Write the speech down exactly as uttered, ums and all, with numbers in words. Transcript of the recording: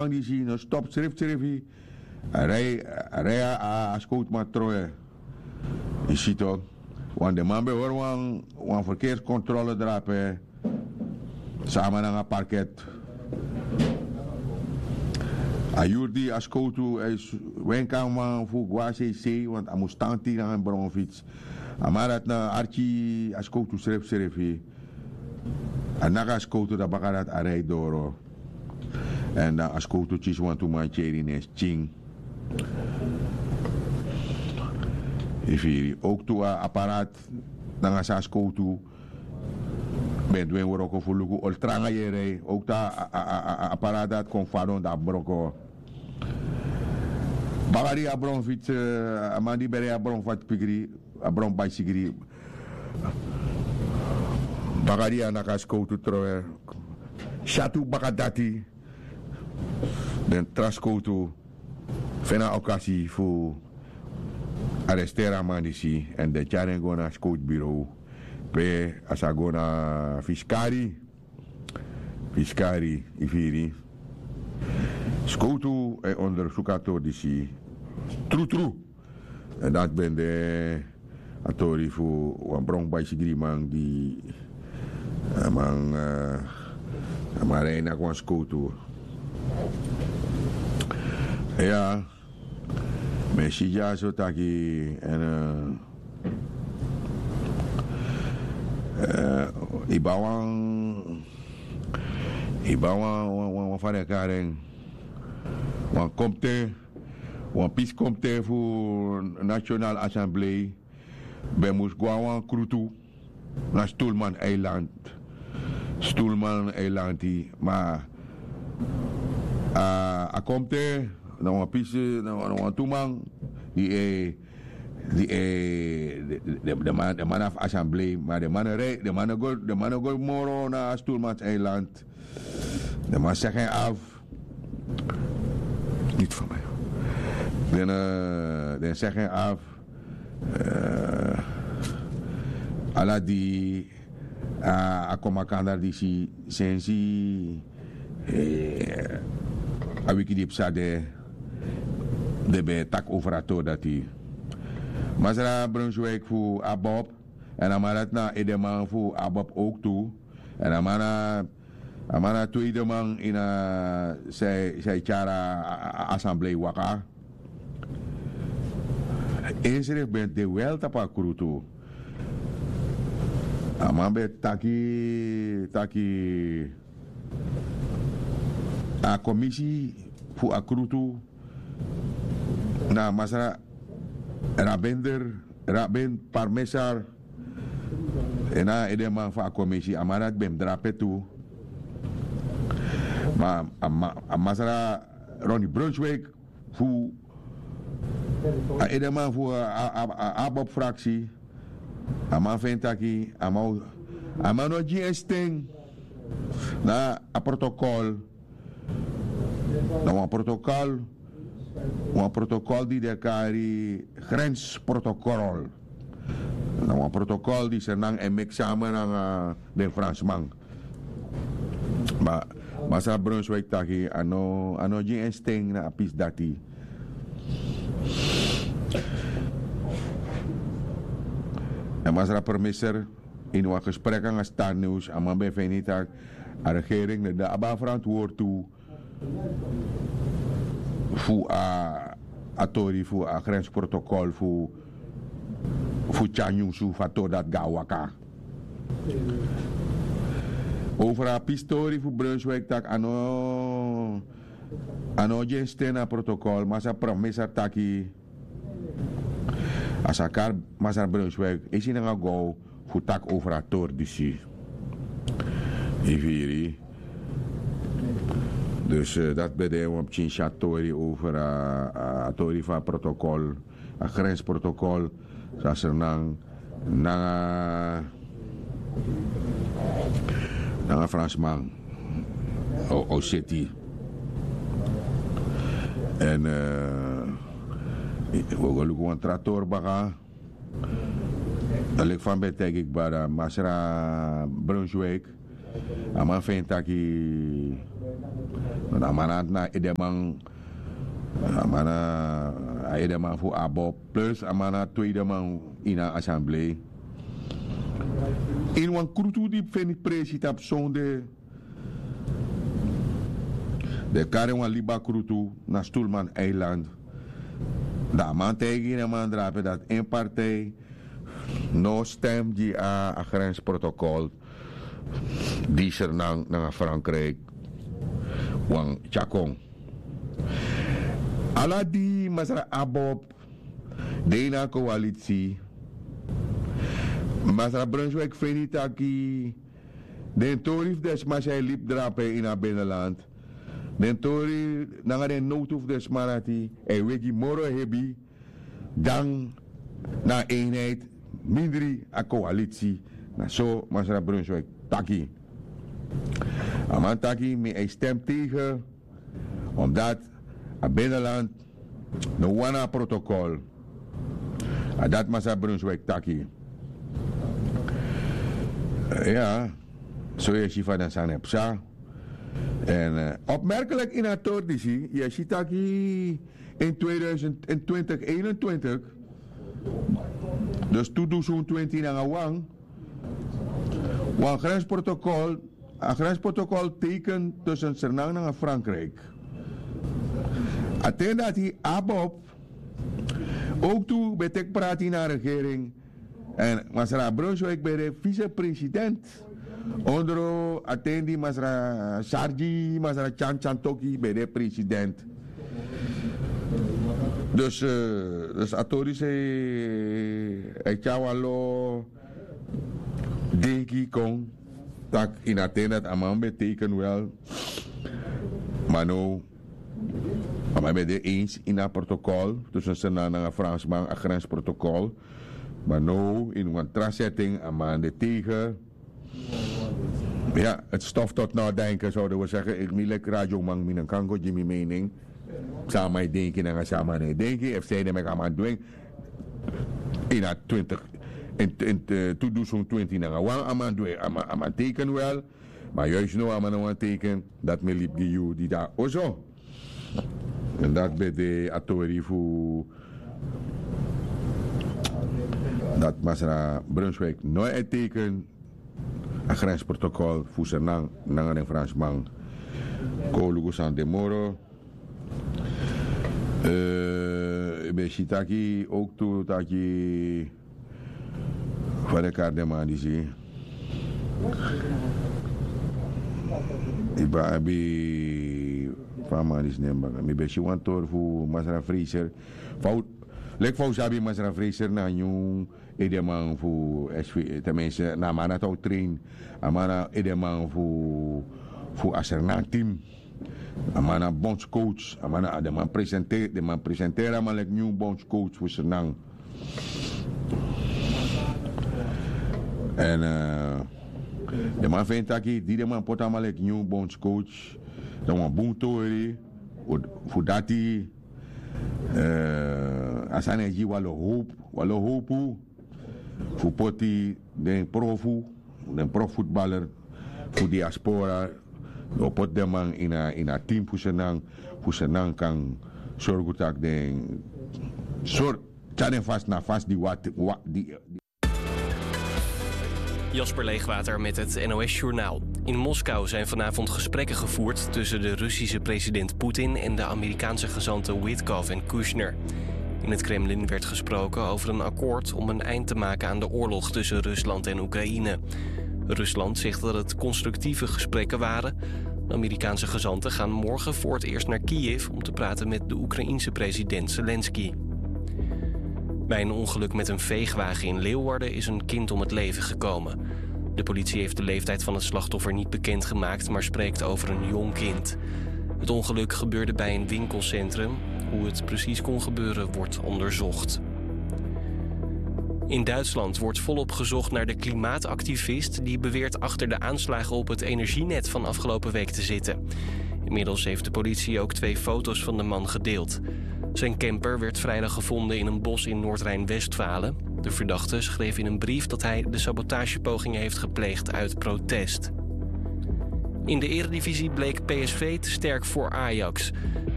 disi no stop srefsrefi. A rei a rei a a skowtuman trowe. Yu si to. Wan den man ben hori wan wan ferkeerskontrole drape. Sama nanga parket. A yuru di a skowtu a e wenki a man fu go na seisei want a mus tan tiri nanga en bronfits. A man dati na arki a skowtu srefsrefi. A naki a skowtu dan baka dati a rei doro. Èn dan a skowtu kisi wantu man tyeri ne skin. Yu firi owktu a aparaat nanga san a skowtu ben du en wroko fu luku oli tranga yu e rei owktu a aparaat dati kon fadon dan a broko. Baka di a bron fitsi a man di ben rei a bron fati pikiri a bron baisigiri. Baka di a naki a skowtu trowe syatu baka dati. Den tra skowtu feni a okasi fu aresteri a man disi èn den tyari en go na a skowtu birow pe a sa go na fiskari. Fiskari yu firi. Skowtu e ondersuku a tori disi trutru. Èn dati ben de a tori fu wan bron baisigriman di a man a man rei naki wan skowtu. Ya. Mi e si dyaso taki èn yu ban wan yu ban wan wan wan fa den e kari en wan komte wan pisi komte fu national assemblee ben mus go na wan krutu na stulman eiland. Stulman eilanti ma a komte na wan pisi na wan tu man di e di e den man na fu assemblee ma den man no rei den man no go den man no go moro na a stulmans eiland. Den man segi en afu. Niti fu mi den segi en afu. Ala di a kon makandra disi sensi a wiki di psa de den ben e taki over a tori dati. Masra brunswik fu abob èn a man dati na edeman fu abob owk tu. Èn a man na a man na tweede man ini a san e tyari a asamblei waka. Ensrefi ben de wel tapu a krutu. A man ben taki taki a komisi fu a krutu na masra rabender raben parmesar. En na a edeman fu a komisi a man dati ben mus drape tu. Ma a masra roni brunswik fu a edeman fu a abop fraksi. A man feni taki a man no gi en sten na a protokol. Na wan protokol wan protokol di den e kari grensprotokol. Na wan protokol di sernan e meki sama nanga den fransman. Ma masra brunswik taki a no a no gi en sten na a pisi dati. Èn masra permiser ini wan gesprek nanga star news a man ben feni tak' a regering no de abi a ferantwortu fu a a tori fu a grensprotokol fu fu tyari nyunsu fu a tori dati go na waka. Over a pistori fu brunswik tak' a no a no gi en sten na protokol masra permiser taki a sa kari masra brunswik esi nanga gow fu taki over a tori disi. Yu firi. Dus dati ben de wan pikin si a tori over a tori fu a protokol a grensprotokol. San sernan nanga nanga fransman o seti. Èn wi o go luku wan tra tori baka. Dan leki fa mi ben taigi kba dan masra brunswik A man feni taki, na a man na edeman, a man na a edeman fu abob, plus a man na tweedeman ini a assemblee. Ini wan krutu di feni presi tapu sonde, den kari wan liba krutu na stulman eiland. Dan a man taigi den man drape dati en partij no stem gi a grensprotokol di sernang nanga frankrijk wan tyakon. Ala di masra abob de ini a koalitsi, masra brunswik feni taki den tori fu den sma san e libi drape ini a binnenland, den tori nanga den nowtu fu den sma dati e wegi moro hebi dan na a eenheid mindri a koalitsi. Na so masra brunswik taki. A man taki mi e stem tegen, omdat a binnenland no wani a protokol. A dati masra brunswik taki. Ya, so yu e si fa den sani e psa. En opmerkelijk ini a tori disi yu e si taki in tweeduizend in twintig eenentwintig, dus tu dusun twinti nanga wan, wan grensprotokol, a grensprotokol teken tussen sernang nanga frankrijk. A ten dati abob ook tu ben teki prati na a regering. En masra brunswik ben de vicepresident ondro a ten di masra sargi masra tyan tyan toki ben de president. Dus a tori sei a e tyari wan lo denki kon tak' ini a ten dati a man ben teken wel. Ma now a man ben de eens ini a protokol tusun sernang nanga fransman a grensprotokol. Ma now ini wan tra setting a man de tegen. Ya, het stof tot nadenken zouden we zeggen. Mi leki radioman mi no kan go gi mi mening. San a man e denki nanga san a man no e denki efu san ede meki a man du en. Ini a twintig in tu dusun twinti nanga wan a man du en, a man teken wel. Ma juist now a man no wani teken. Dati mi e libi gi yu di de na oso. En dati ben de a tori fu dati masra brunswik no e teken a grensprotokol fu sernang nanga den fransman. Kon luku san de moro. Yu ben si taki ook tu taki fa den kari den man disi. Yu ben abi fa a man disi nen baka mi ben si wan tori fu masra fraser. Fa un leki fa un sabi masra fraser na a nyun edeman fu sv. Ten minste na a man dati a o train. A man na edeman fu a sernang team. A man na bondscoach. A man na den man presenteri den man presenteri a man leki nyun bondscoach fu sernang. Èn den man feni taki di den man poti a man leki nyun bondscoach, dan wan bun tori fu dati. A sani e gi wan lo howpu wan lo howpu fu poti den profu den profutbaler fu diaspora. O poti den man ini a team fu sernang fu sernang kan sorgu tak' den sori tyari den fasi na fasi di wati. Jasper Leegwater met het N O S-journaal. In Moskou zijn vanavond gesprekken gevoerd tussen de Russische president Poetin en de Amerikaanse gezanten Witkoff en Kushner. In het Kremlin werd gesproken over een akkoord om een eind te maken aan de oorlog tussen Rusland en Oekraïne. Rusland zegt dat het constructieve gesprekken waren. De Amerikaanse gezanten gaan morgen voor het eerst naar Kiev om te praten met de Oekraïense president Zelensky. Bij een ongeluk met een veegwagen in Leeuwarden is een kind om het leven gekomen. De politie heeft de leeftijd van het slachtoffer niet bekendgemaakt, maar spreekt over een jong kind. Het ongeluk gebeurde bij een winkelcentrum. Hoe het precies kon gebeuren, wordt onderzocht. In Duitsland wordt volop gezocht naar de klimaatactivist die beweert achter de aanslagen op het energienet van afgelopen week te zitten. Inmiddels heeft de politie ook twee foto's van de man gedeeld. Zijn camper werd vrijdag gevonden in een bos in Noord-Rijn-Westfalen. De verdachte schreef in een brief dat hij de sabotagepogingen heeft gepleegd uit protest. In de Eredivisie bleek P S V te sterk voor Ajax.